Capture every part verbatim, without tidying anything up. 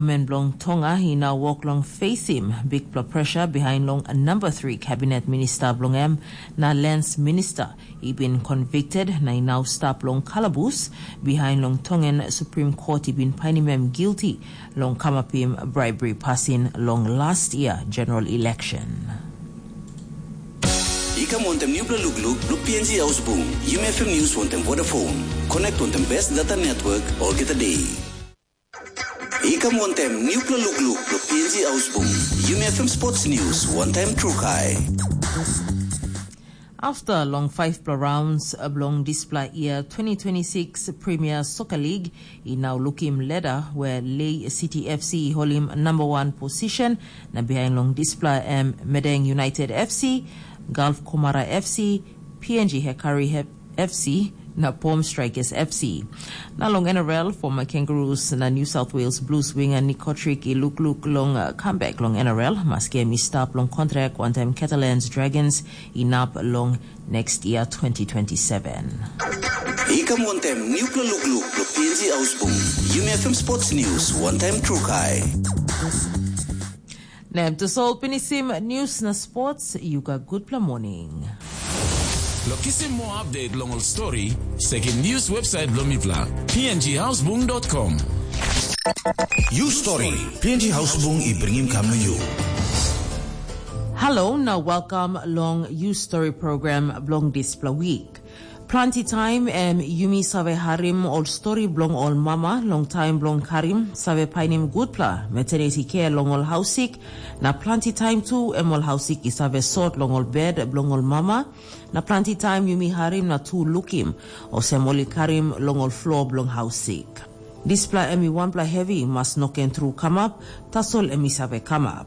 Men bilong Tonga i nau wok long fesim bikpela pressure behind long number three cabinet minister bilong em, na lands minister i bin convicted na i nau stap long kalabus behind long Tongan Supreme Court i bin painim em guilty long kamapim bribery pasin long last year general election. I kam wantem nupela lukluk bilong P N G Haus Bung, Yumi F M News wantem Vodafone. Connect wantem best data network olgeta day. I kam wantem nupela lukluk bilong P N G Haus Bung, Yumi F M Sports News wantem Trukai. After long faivpela rounds bilong dispela year twenty twenty-six Premier Soccer League, i nau lukim leda where Lei City F C i holim number one position, na behind long dispela em Medeng United F C, Gulf Komara F C, P N G Hekari F C, na Pom Strikers F C. Na long N R L, former Kangaroos na New South Wales Blues winger Nick Cotric i lukluk long uh, comeback long N R L, maski em i stap long kontrak wantaim Catalans Dragons inap long next year twenty twenty-seven. I kam wantem nupela lukluk bilong P N G Haus Bung, Yumi F M Sports News wantem Trukai. Na em tasol pinisim news na sports, you got good morning. Lo kisim mo update long ol story, sekim news website bilong mipela, P N G Hausbung dot com. You story, P N G Hausbung i bringim kam na you. Hello, na welcome long You Story program bilong dispela week. Planti taim em yumi save harim ol stori bilong ol mama long taim bilong karim save painim gutpela maternity care long ol hausik, na planti taim tu em ol hausik i save sot long ol bed bilong ol mama, na planti taim yumi harim na tu lukim olsem ol i karim long ol flo bilong hausik. Dispela em i wanpela hevi mas no ken tru kamap, tasol em i save kamap.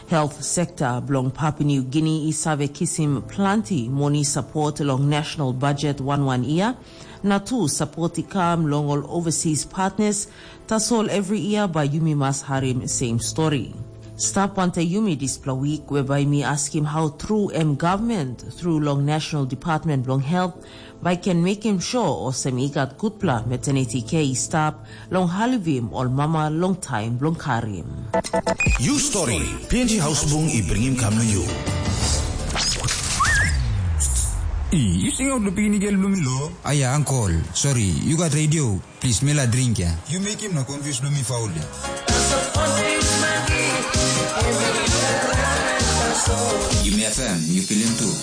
Health sekta bilong Papua New Guinea i save kisim planti moni sapot long national budget wan wan yia, na tu sapot i kam long ol overseas partners, tasol every yia bai yumi mas harim same stori. Stap wantaim yumi dispela wik we bai mi askim hau tru em gavman tru long National Department bilong Health bai ken mekim sure olsem i gat gutpela maternity care i stap long halivim ol mama long taim bilong karim. You story, P N G Hausbung i bringim kam na you. I, you sing out the pini gel blumi lo? Aya, uncle, sorry, you got radio. Please, mela drink ya. You make him na confuse blumi faul ya. Yumi F M, you feel him too.